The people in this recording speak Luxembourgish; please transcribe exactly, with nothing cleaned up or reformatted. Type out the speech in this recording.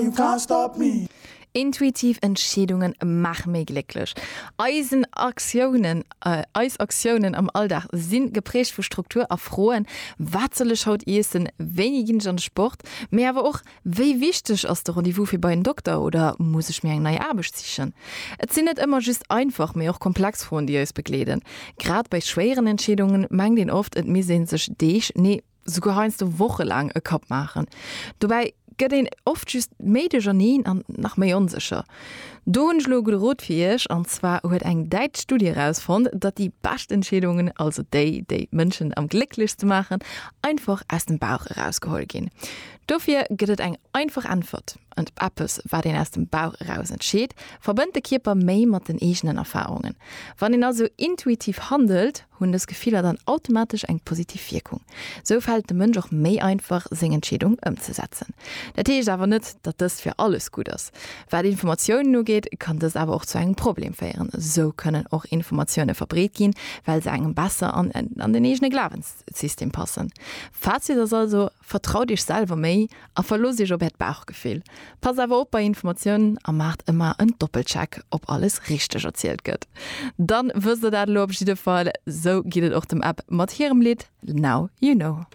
You can't stop me. Intuitiv Entscheedunge maache méi glécklech. Eisen Aktiounen, eis Aktiounen am Alldag si geprägt vu Struktur a Froen, Wat soll ech haut iessen? Wéini ginn ech an de Sport? Mee awer och, Wéi wichteg ass de Rendez-vous fir bei en Dokter oder muss ech mir eng nei Aarbecht sichen? Et sinn net ëmmer just einfach, mee och komplex Froen, déi eis begleeden. Grad bei schwéieren Entscheedungen mengt een oft, et misst ee sech Deeg, nee souguer heiansdo wochelaang e Kapp maachen. Dobäi gëtt een oft just méi duercherneen an nach méi onsécher. Do hunn ech elo e gudde Rot fir iech, an zwar huet eng däitsch Studie erausfonnt, datt déi bescht Entscheedungen, also déi, déi d'Mënschen am glécklechste maachen, einfach aus dem Bauch erausgeholl ginn. Dofir gëtt et eng einfach Äntwert, Eppes, wat een aus dem Bauch eraus entscheet, verbënnt de Kierper méi mat den eegenen Erfarungen. Wann een also intuitiv handelt, hunn dës Gefiller dann automatesch eng positiv Wierkung. Sou fält et dem Mënsch och méi einfach, seng Entscheedung ëmzesetzen. Dat heescht awer net, datt dëst fir alles gutt ass. Wat Informatiounen ugeet, kann dëst awer och zu engem Problem féieren. Sou kënnen och Informatioune verbreet ginn, well se engem besser an den eegene Glawenssystem passen. Fazit ass also, Vertraut iech selwer méi a verloosst iech op äert Bauchgefill. Passt awer op bei Informatiounen a maacht ëmmer en Doppelcheck, ob alles richteg erzielt gëtt. Dann wësst der dat elo op jidde Fall. Sou geet et och dem Ebb mat hirem Lidd Now You Know.